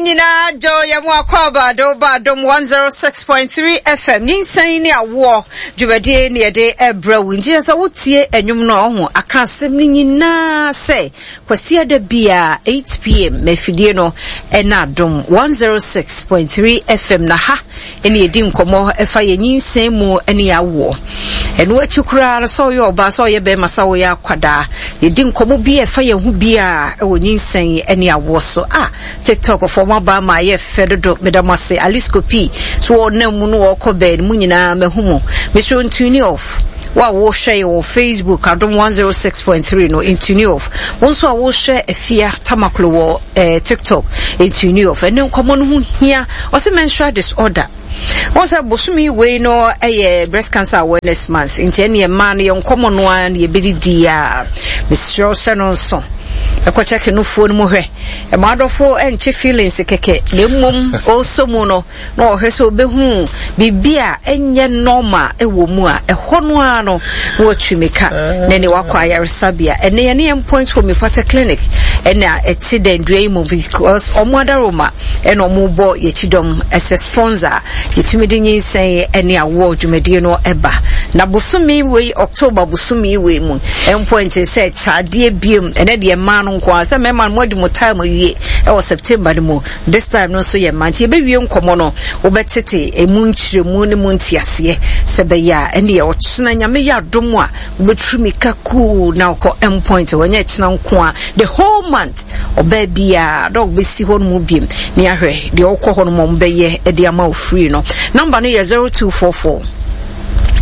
Nyinaa dwo yɛ mo akwaaba de woba Adom 106.3 FM nyinsɛn ne awoɔ dwumadie ne yɛde ɛbrɛ wo nti sɛ wotie ɛnwom no a ɔho aka asɛm no nyinaa sɛ Kwasiada biara 8pm ma afidie no ɛna Adom 106.3 FM na ha ɛne yɛdi nkɔmmɔ ɛfa yɛ nyinsɛn mu ne yɛ awoɔ ɛno akyi koraa no sɛ ɔyɛ ɔbaa sɛ ɔyɛ bɛrima sɛ ɔyɛ akwadaa yɛdi nkɔmmɔ bi a ɛfa yɛn ho biara ɛwɔ nyinsɛn ne awoɔ so a TikTok foɔ mo aba ama ayɛ fɛ dodo meda mo ase Alisco P so wɔnam mu no wɔkɔ bɛn mu nyinaa mahu mo mesrɛ ntuni off wo a wohwɛ yɛ wɔ Facebook Adom 106.3 no ntuni off wo nso a wohwɛ Afia Tamaklo wɔ eh, TikTok ntuni off ɛne nkɔmmɔ no ho hia ɔsɛ menstrual disorder wɔn sɛ bosome wei no yɛ breast cancer awareness month nti ɛne mmaa no yɛn nkɔmmɔ no ara na yɛbɛdidi a mesrɛ wo hyɛ no nso ɛkɔ kyɛke nofoɔ no mu hwɛ ɛma adɔfo ɛnkye feelings kɛkɛ na mmom ɔsɔ mu no na ɔhwɛ sɛ ɔbɛhu biribi a ɛnyɛ normal ɛwɔ mu a ɛhɔ no ara no na watwi mika na ne wakɔ ayaresabea ɛne yɛne yɛn point homeopathic clinic ɛna ɛte dɛn dua yi mu because ɔmo adaroma ɛna ɔmo bɔ yɛkyi dɔm ɛsɛ sponsor yɛtumi de nyinsɛn ɛne awoɔ dwumadie no ɛba na bosome wei October bosome wei mu ɛmpo nkyɛn sɛ kyadeɛ biem ɛnɛ deɛ mmaa no nko ara sɛ mmarima no mo adi mo time awie ɛwɔ September no mu this time no nso yɛ mmaa nti yɛbɛwie nkɔmɔ no wobɛtete emu nkyerɛmu ne mu nteaseɛ sɛ bɛyɛ a ɛne yɛ ɔkyena nyame yɛ adom a wobɛturu mika kuu na wokɔ endpoint wɔnyɛ ɛkyena nko a the whole month ɔbaa biara dɔg bɛsi hɔ no mu biem ne ahwɛ deɛ wokɔ hɔ no mu ɔmbɛyɛ de ama wo free no number no yɛ 0244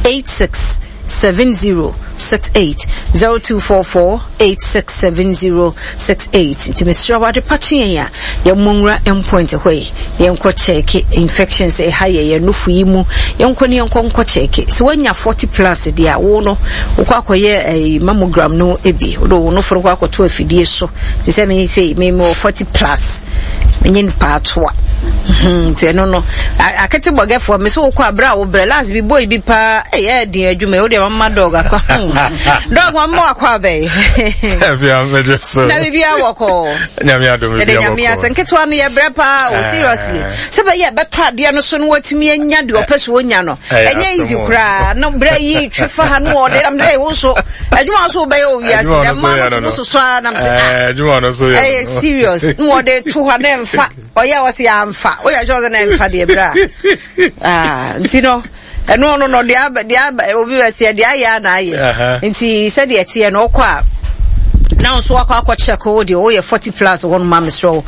86 7068 0244 867068 nti mesrɛ wo ade pa kye yɛn a yɛmmɔ nwura endpoint hɔ yi yɛnkɔ kyɛɛke infections ɛha yɛ yɛn nufu yi mu yɛnkɔ ne yɛnkɔ nkɔ kyɛɛke sɛ woanya 40 plus deɛ a wo no wokɔ akɔyɛ ɛyi mammogram no bi wode wo nofo no kɔ akɔto afidie so te sɛ me sei me mewɔ 40 plus menye nipa atoa hmm, nti ɛno no akete bɔgɛfoɔ me sɛ wokɔ aberɛ a wobrɛ last bi boy bi paa ɛyɛ den adwuma wo deɛ mama dɔg akɔ hmm. dɔg mama wakɔ abɛn na biribia wɔkɔ ɛde nyame asɛ nketewa no yɛbrɛ paa o seriously sɛ bɛyɛ bɛtɔ adeɛ no so no watumi anya deɛ ɔpɛ so ɔnya no ɛnyɛ easy koraa na berɛ yi twe fa ha no ɔde nam sɛ wo so adwuma so wobɛyɛ wɔ wiase dɛ ma no so soso ara nam sɛ ah adwuma no so yɛ ɛyɛ serious na wɔde to hɔ na ɛmfa ɔyɛ a ɔsɛ yɛamfa woyɛ sure sɛ na ɛmfa deɛ berɛ a ah nti no ɛno no no deɛ aba deɛ aba obi bɛ seɛ deɛ ayɛ a na ayɛ nti sɛdeɛ ɛteɛ no ɔkɔ a na nso akɔ akɔ check wo deɛ woyɛ 40 plus hɔ no ma mesrɛ wo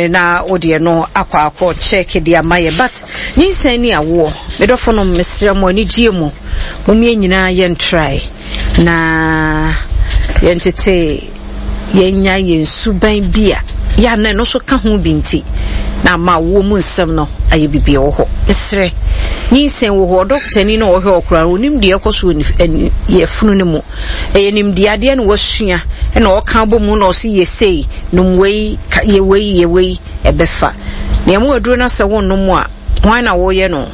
na wo deɛ no akɔ akɔ check deɛ ama yɛ but nyinsɛn ne awoɔ medɔfo no mesrɛ mo anigyeɛ mu Mom yɛn nyinaa yɛntrae na yɛntete yɛnya yɛn suban bi a yɛ a na ɛno nso ka ho bi nti na ama awoɔ mu nsɛm no ayɛ biribi wɔ hɔ. Mesrɛ, nyinsɛn wɔ hɔ, ɔdɔkotani no a ɔhwɛ ɔkoraa no, ɔnim deɛ ɛkɔ so wɔ yɛfunu no mu. Ɛyɛ nimdeɛ adeɛ na wasua ɛna ɔka abɔ mu na ɔse yɛ sei, nom wei, yɛ wei, yɛ wei, ɛbɛfa. Nea mu aduro no asɛ wonnom a, Hwan na woreyɛ no?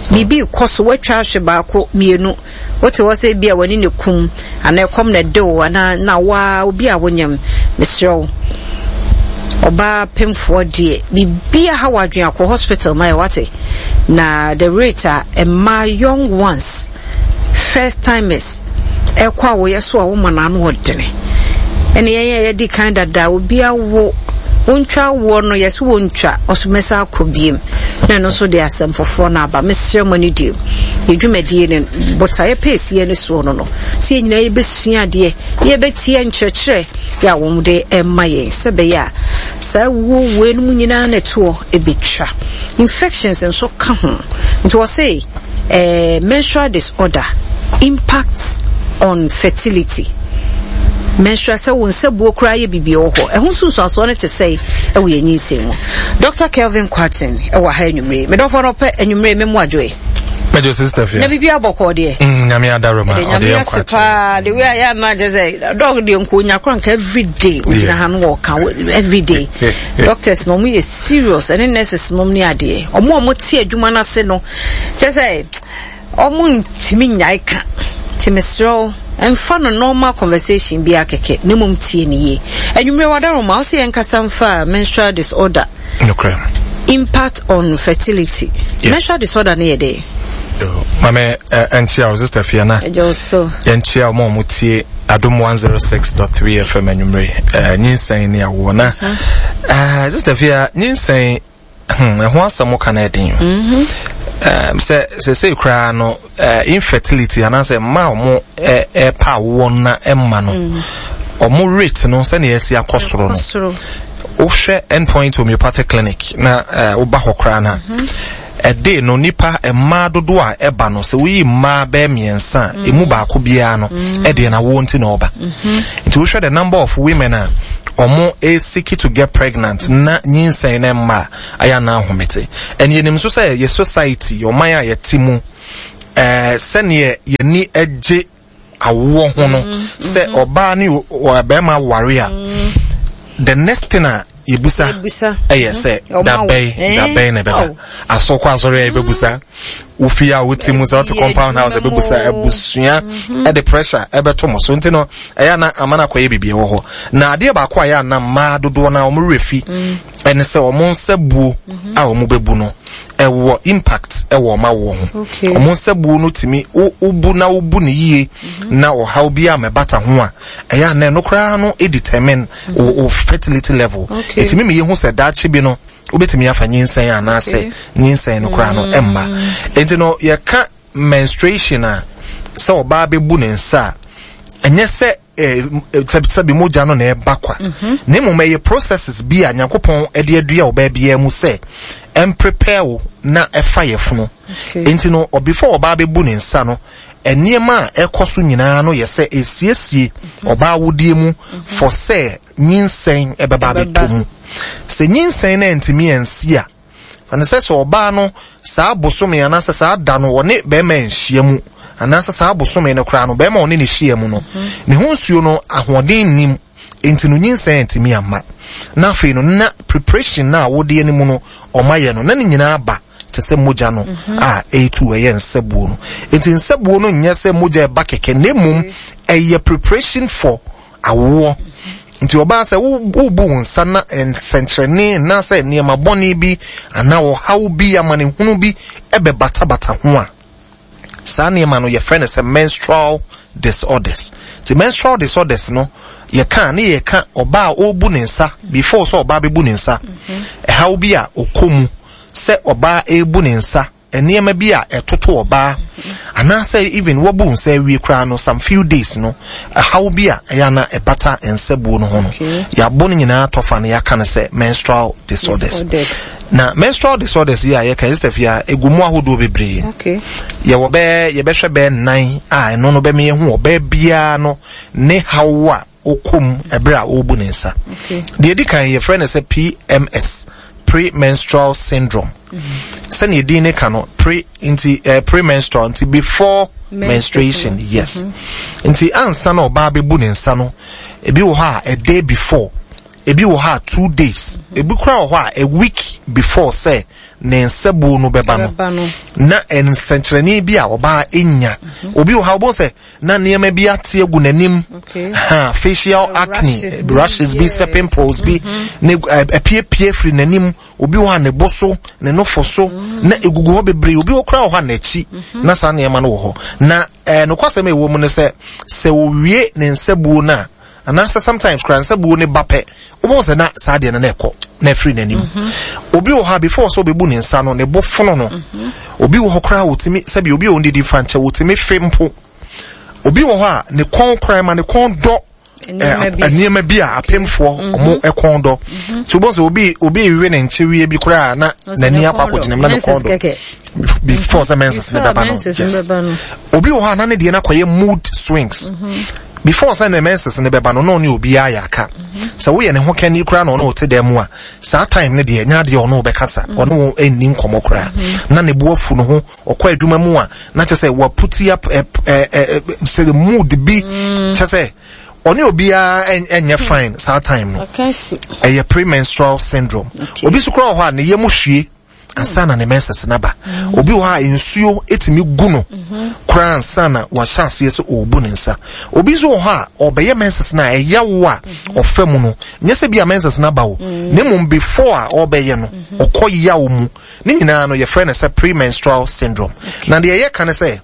Biribi rekɔ so, woatwa ahwe baako, mmienu. Wote hɔ sɛ ebia w'ani na ekum, anaa ɛkɔm na ɛde wo, anaa na waa obi a wonyam. Mesrɛ wo, ɔbaa pemfoɔ deɛ, biribi aha w'adwene akɔ hospital ma yɛ wate. Na the rate a mmaa young ones First timers ɛkɔ a wɔyɛ so a wɔma no ano ɔdene ɛne yɛn a yɛdi kan dada obi awo wontwa awoɔ no yɛsɛ wontwa ɔso mɛsa akɔ biem na ɛno nso de asɛm foforɔ no aba mesrɛ mo ne deɛ yɛ dwumadie no botaeɛ pɛɛsiɛ ne soɔ no no sɛ yɛn nyinaa yɛbɛsua adeɛ yɛbɛtie nkyerɛkyerɛ yɛ a wɔn de ɛma yɛn sɛ bɛyɛ a saa wuo wei no mu nyinaa na ɛtoɔ ɛbɛtwa infections nso ka ho nti wɔse eh, menstrual disorder impacts on fertility. Menstrual sɛ wo nsabuo koraa yɛ biribi wɔ hɔ. Ɛho nsunsuansoɔ no te sɛe ɛwɔ yɛn nyinsɛn mu. Dr. Kelvin Kwarteng ɛwɔ ha anwummere. Medɔfoɔ no ɔpɛ anwummere me mu adwoe. Mɛjɔ sister fia. Na biribi abɔkɔɔ deɛ. Mm, nyame adaroma. Ɛde nyame ase paa. The way a yɛ anaa kyɛ sɛ dɔg deɛ nko onya kora nka every day ogyina ha no wɔka every day. Doctors no ɔmo yɛ serious ɛne nurses nom ne adeɛ. Ɔmo a ɔmo te adwuma no ase no kyɛ sɛ ɔmo ntumi nyae ka. Nti mesrɛ wo. Mfa no normal conversation biara kɛkɛ na mmom tie no yie. Anwummerɛ w'adaroma, wo se yɛnkasa mfa menstrual disorder. Nokorɛ. Impact on fertility. Yeah. Menstrual disorder no yɛ dɛn? Mame ɛnkyia wo sister fia na. Ɛgye wo so. Yɛnkyia wɔn a wɔtie Adom 106.3 FM anwummere. Nyinsɛn ne awoɔ na. Uh-huh. Sister fia nyinsɛn Hmm, ɛho asɛm ka no ɛden. Mm-hmm. Um, sɛ sɛsei koraa no uh, infertility anaasɛ mma a ɔmo ɛpa awoɔ na ɛmma no mm. ɔmo rate no sɛnea ɛsi akɔ soro no wohwɛ endpoint homeopathic clinic na uh, woba hɔ koraa no mm-hmm. ɛde no nipa mmaa dodoɔ a ɛba no sɛ woyi mmaa bɛyɛ mmiɛnsa a mm. emu baako biara no mm. ɛdeɛ na awoɔ nti na ɔba mm-hmm. Nti wohwɛ the number of women a ɔmo seek to get pregnant na nyinsɛn no mma a, ayɛ anaa ahomete. And yɛnim nso sɛ yɛ society, ɔman a yɛte mu, eh, sɛneɛ yɛni gye awoɔ ho no, mm, sɛ mm-hmm. ɔbaa ne ɔbɛrima ware a, mm. the next thing a yɛbusa ɛyɛ sɛ mm-hmm. dabɛn eh? dabɛn na ɛbɛba. Asɔkɔ asɔre a yɛbɛbusa. Wo fie a wote mu sɛ wote compound house ɛbɛbusa abusua ɛde pressure ɛbɛto mo so nti no ɛyɛ ana ama no akɔyɛ biribi ɛwɔ hɔ na adeɛ baako a ɛyɛ ana mmaa dodoɔ no a wɔn werɛ fi ɛne sɛ wɔn nsa buo a wɔn bɛbu no ɛwɔ impact ɛwɔ wɔn awoɔ ho wɔn nsa buo no tumi wobu na wobu no yie na ɔhaw bi a mɛbata ho a ɛyɛ ana ɛno koraa no determine wo fertility level ɛtumi mi yɛ hu sɛ daakye bi no wobɛtumi afa nyinsɛn anaasɛ nyinsɛn no koraa no ɛmma nti no yɛka menstruation a sɛ ɔbaa bɛbu ne nsa a ɛnyɛ sɛ sɛbi mogya no na ɛba kwa mhm. na mmom ɛyɛ processes bi a nyankopɔn de adua ɔbaa biara mu sɛ ɛmprepare wo na ɛfa yɛfono nti no before ɔbaa bɛbu ne nsa no nneɛma a ɛkɔ so nyinaa no yɛ sɛ ɛsiesie mhm. ɔbaa wodeɛ mu mhm. for sɛ nyinsɛn bɛba abɛtɔ mu. Sɛ nyinsɛn no antumi ansi a, ɛne sɛ sɛ ɔbaa no saa bosome anaasɛ saa da no ɔne bɛrima anhyia mu anaasɛ saa bosome no koraa no bɛrima ɔne ne hyia mu no, ne ho nsuo no ahoɔden nnim nti no nyinsɛn antumi amma. Na afei no na preparation no a wodeɛ no mu no ɔma yɛ no na ne nyinaa ba te sɛ mogya no a ɛretu ɛyɛ nsabuo no. Nti nsabuo no nyɛ sɛ mogya ɛba kɛkɛ na mmom ɛyɛ preparation for awoɔ. Nti ɔbaa sɛ wobu wo nsa na nsɛnkyerɛnne anaasɛ nneɛma bɔne bi anaa ɔhaw bi amanehunu bi ɛbɛbatabata ho a, saa nneɛma no yɛfrɛ no sɛ menstrual disorders. Nti menstrual disorders no yɛka ne yɛka ɔbaa a ɔrebu ne nsa before sɛ ɔbaa bɛbu ne nsa, ɛhaw bi a ɔkɔ mu sɛ ɔbaa ɛrebu ne nsa Nneɛma bi a ɛtoto ɔbaa anaasɛ even wabu nsa awie koraa no some few days no ɛhaw bi a ɛyɛ ana ɛbata nsabuo no ho no yɛabɔ no nyinaa tɔfa no yɛaka no sɛ menstrual disorders na menstrual disorders yi a yɛka yɛ sɛ a ɛgu mu ahodoɔ bebree yɛwɔ bɛɛ yɛbɛhwɛ bɛɛ nnan a ɛno no bɛma yɛhu ɔbaa biara no ne haw a ɔkɔ mu ɛberɛ a ɔrebu ne nsa. Deɛ ɛdi kan yɛfrɛ no sɛ PMS, premenstrual syndrome. Mm-hmm. Sɛnea edin ne ka no, pre nti eh, premenstrual nti before menstruation, yes. Mm-hmm. Nti ansa na ɔbaa bɛbu ne nsa no, ebi wɔ hɔ a a day before, ebi wɔ hɔ a 2 days, mm-hmm. ebi koraa wɔ hɔ a a week before sɛ ne nsabuo no bɛba no, na nsɛnkyerɛnne bi a ɔbaa nya. Obi wɔ hɔ a wobɛhu sɛ na nneɛma bi ate agu n'anim ha facial acne rashes bi sɛ pimples bi mm-hmm. ne apiepie firi n'anim obi wɔ hɔ a ne bo so ne nofo so mm. na egugu hɔ bebree obi wɔ koraa wɔ hɔ a n'akyi mm-hmm. na saa nneɛma no wɔ hɔ na ɛɛ nokwasɛm a ɛwɔ mu ne sɛ sɛ owie ne nsabuo no a anaasɛ sometimes koraa nsabuo ne ba pɛ wobɛhu sɛ na saa deɛ no na ɛkɔ na ɛfiri n'anim mm-hmm. obi wɔ hɔ a before sɛ ɔbɛbu ne nsa no ne bo fono no obi wɔ hɔ koraa wɔtumi sɛbi obi a ɔndidi fa nkyɛ wɔtumi fe mpo obi wɔ hɔ a ne kɔn koraa ma ne kɔn dɔ nneɛma bi a apemfoɔ ɔmo kɔn dɔ nti wobɛhu sɛ obi obi rewe ne nkyeweɛ bi koraa na n'ani akɔ akɔgyina mu na ne kɔn dɔ before sɛ menses ne bɛba no yes obi wɔ hɔ a na ne deɛ no akɔyɛ mood swings before sɛ ne menses ne bɛba no na ɔne obiara yɛ aka sɛ woyɛ ne ho kɛne koraa na ɔne ɔte dan mu a saa time no deɛ nyɛ adeɛ ɔne wobɛkasa ɔne wo ɛnni nkɔmmɔ koraa na ne bo afu no ho ɔkɔ adwuma mu a na kyɛ sɛ waputi up sɛ mood bi kyɛ sɛ ɔne obiara ɛnyɛ fine saa time no ɛyɛ premenstrual syndrome obi so koraa wɔ hɔ a ne yam hwie. ansa na ne menses no aba. Obi wɔ hɔ a nsuo tumi gu no koraa ansa na wahyɛ aseɛ sɛ ɔrebu ne nsa. Obi nso wɔ hɔ a ɔbɛyɛ menses no a ɛyaw a ɔfa mu no, nyɛ sɛ bi a menses no aba o, na mmom before a ɔrebɛyɛ no, ɔkɔ yaw mu. Ne nyinaa no yɛfrɛ no sɛ premenstrual syndrome. Na deɛ yɛka ne sɛ,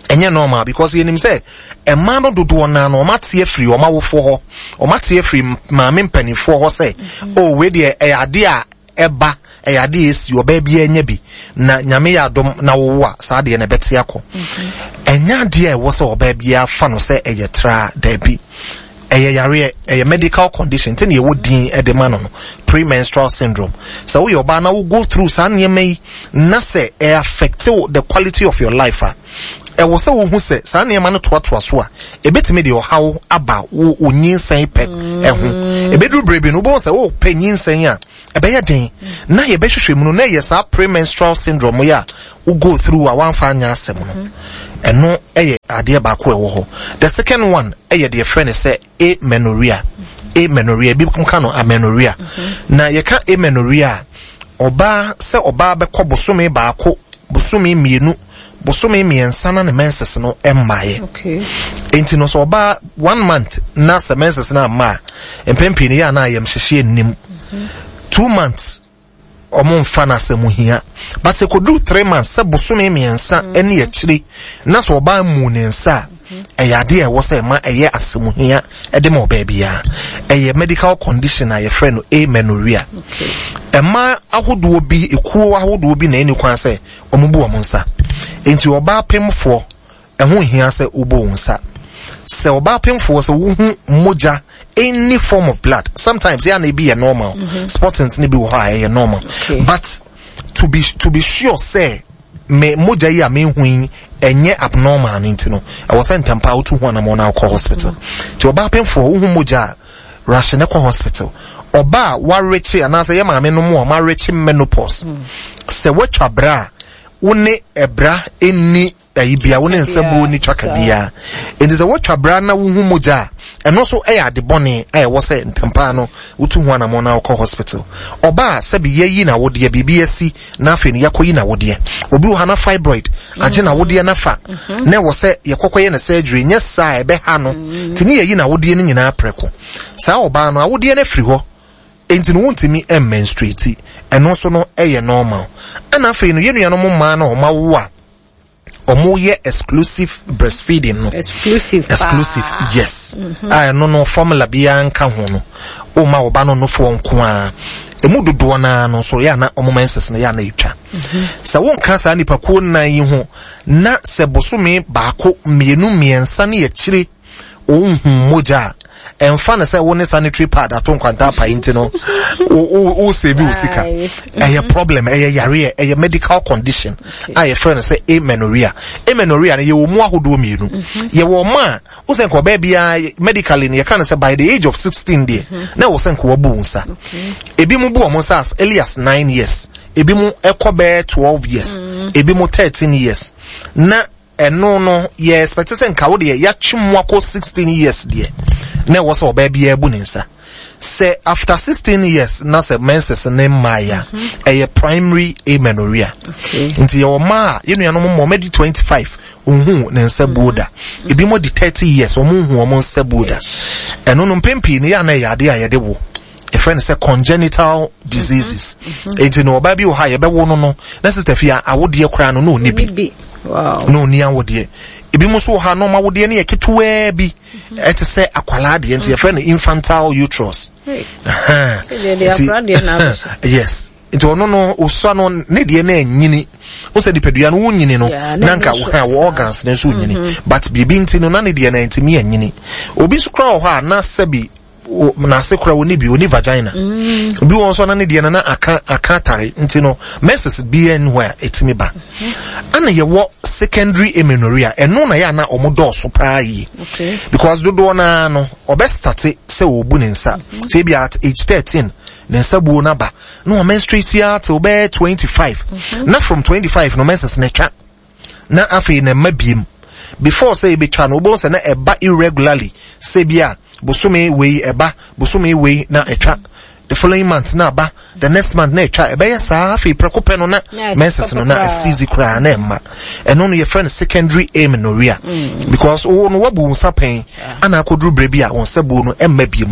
ɛnyɛ normal because yɛnim sɛ mmaa no dodoɔ naa no wɔn ate afiri wɔn awofoɔ hɔ, wɔn ate afiri maame mpanimfoɔ hɔ sɛ mm-hmm. oh wei deɛ ɛyɛ adeɛ a ɛba, ɛyɛ adeɛ a ɛsi, ɔbaa biara nya bi, na Nyame yɛ adom na wowo a saa adeɛ no ɛbɛte akɔ. Mm-hmm. Ɛnyɛ adeɛ a ɛwɔ sɛ ɔbaa biara fa no sɛ ɛyɛ traa, daabi. Ɛyɛ yareɛ, ɛyɛ medical condition, nti na yɛwɔ din de ma no no, premenstrual syndrome. Sɛ woyɛ ɔbaa na wo go through saa nneɛma yi na sɛ ɛ affect the quality of your life a, ɛwɔ sɛ wohu sɛ saa nneɛma no toatoa so a, ebetumi de ɔhaw aba wo wo nyinsɛn pɛ ɛho. Ebeduru bere bi no, wobɛhu sɛ wopɛ nyinsɛn a, ɛbɛyɛ den. Na yɛbɛhwehwɛ mu no, na ɛyɛ saa premenstrual syndrome yi a wo go through a wamfa anyɛ asɛm no. Ɛno yɛ adeɛ baako a ɛwɔ hɔ. The second one yɛ deɛ yɛfrɛ no sɛ amenorrhea. Amenorrhea, ebi ka no amenorrhea. Na yɛka amenorrhea a, ɔbaa sɛ ɔbaa bɛkɔ bosome baako, bosome mmienu, bosome mmiɛnsa na ne menses no mmaeɛ. Okay. Enti no sɛ ɔbaa one month na sɛ menses no amma a, mpɛn pii no yɛ a na ayamhyehyeɛ nnim. 2 months ɔmo nfa no asɛm hia. But sɛ kɔduru 3 months, sɛ bosome mmiɛnsa ne akyire na sɛ ɔbaa mu ne nsa a, ɛyɛ adeɛ a ɛwɔ sɛ ɛma ɛyɛ asɛm hia ɛde ma ɔbaa biara. Ɛyɛ medical condition a yɛfrɛ no amenorrhea. Ɛma ahodoɔ bi, ekuo ahodoɔ bi na ɛni kwan sɛ wɔn bu wɔn nsa. Nti ɔbaa pemfoɔ, ɛho hia sɛ wobɔ wɔn nsa. Sɛ ɔbaa pemfoɔ sɛ wohu mogya, any form of blood, sometimes yɛ ana ebi yɛ normal, spottings ne bi wɔ hɔ a ɛyɛ normal, but to be sure sɛ me mogya yi a mehu yi ɛnyɛ abnormal no nti no, ɛwɔ sɛ ntɛmpa wotu ho anamɔ na wokɔ hospital. Nti ɔbaa pemfoɔ, wohu mogya a, rush ne kɔ hospital. Ɔbaa a warekye anaasɛ yɛ maame no mu a ɔmarekye menopause, sɛ woatwa bra a, wo ne ɛbra ɛnni ayi bia, wo ne nsabuo ni twaka biara. Nti sɛ woatwa bra na wohu mogya a, ɛno nso ɛyɛ ade bɔne a ɛwɔ sɛ ntɛmpaa no wotu ho anammɔn na wokɔ hospital. Ɔbaa sɛbi yɛyi na wodeɛ biribi asi na afei no yɛakɔyi na wodeɛ. Obi wɔ ha na fibroid agye na wodeɛ nafa na ɛwɔ sɛ yɛkɔkɔyɛ no surgery, nyɛ saa a ɛbɛha no. Nti ne yɛyi na wodeɛ no nyinaa prɛko. Saa ɔbaa no awodeɛ no afiri hɔ, nti no wontumi mmenstruate. Ɛno nso no ɛyɛ normal. Ɛna afei no yɛn nuanom mmaa no a wɔn awo a wɔn yɛ exclusive breastfeeding no. Exclusive. Exclusive, yes. A ɛno no formula biara nka ho no, woma ɔba no nofoɔ nko ara. Emu dodoɔ naa no nso yɛ ana ɔmo menses no yɛ ana etwa. Sɛ wonka saa nipakuo nnan yi ho na sɛ bosome baako, mmienu, mmiɛnsa ne akyire onhu mogya a, ɛmfa no sɛ wo ne sanitary pad ato nkwanta apae nti no wo save wo sika. Ɛyɛ problem, ɛyɛ yareɛ, ɛyɛ medical condition a yɛfrɛ no sɛ amenorrhea. Amenorrhea no yɛwɔ mu ahodoɔ mmienu. Yɛwɔ ɔma a wo sɛ nka ɔbaa biara medically no yɛka no sɛ by the age of 16 deɛ na ɛwɔ sɛ nka wabu wo nsa. Ebi mu bu wɔn nsa as early as 9 years, ebi mu ɛkɔ bɛyɛ 12 years, ebi mu 13 years. Na ɛno no yɛ expect sɛ nka wo deɛ yɛatwe mu akɔ 16 years deɛ na ɛwɔ sɛ ɔbaa biara bu ne nsa. Sɛ after 16 years na sɛ menses ne mmaeɛ a, ɛyɛ primary amenorrhea. Nti yɛwɔ mmaa a yɛn nuanom mma wɔn adi 25 ohun ne nsa buo da, ebi mo di 30 years wɔn nhu wɔn nsa buo da. Ɛno no mpɛn pii no yɛ ana ɛyɛ adeɛ a yɛde wo, yɛfrɛ no sɛ congenital diseases. Nti no ɔbaa bi wɔ hɔ a yɛbɛwo no na sister fi a awodeɛ koraa no na ɔni bi, na ɔni awodeɛ. Ebi mo nso wɔ hɔ a na ɔmo awodeɛ no yɛ ketewaa bi, ɛte sɛ akwalaa deɛ, nti yɛfrɛ no infantile uterus. Yes, nti ɔno no osua no ne deɛ no anyini wo sɛ nipadua no wonyini no na nka wɔ organs no nso nyini, but biribi nti no na ne deɛ no antumi anyini. Obi nso koraa wɔ hɔ a na sɛbi n'ase koraa oni bi, oni vagina. Obi wɔ nso na ne deɛ no na aka atare, nti no menses bi ɛnu hɔ a ɛtumi ba. Ɛna yɛwɔ secondary amenorrhea. Ɛno na yɛ ana ɔmo dɔɔso paa yie because dodoɔ naa no ɔbɛ start sɛ ɔbu ne nsa sɛ ebi at age 13 ne nsa buo n'aba na ɔmenstruate ya till bɛyɛ 25, na from 25 no menses na twa na afei na ɛma biem. Before sɛ ebetwa no, wobɛhu sɛ na ɛba irregularly, sɛ bi a bosome wei ɛba, bosome wei na ɛtwa. The following month na aba, the next month na ɛtwa. Ɛbɛyɛ saa, afei prɛko pɛ no na menses no na asizi koraa na ɛmma. Ɛno no yɛfrɛ no secondary amenorrhea, because wo no wabu wo nsa pɛn ana akɔduru berɛ bi a wo nsa buo no ɛmma bio.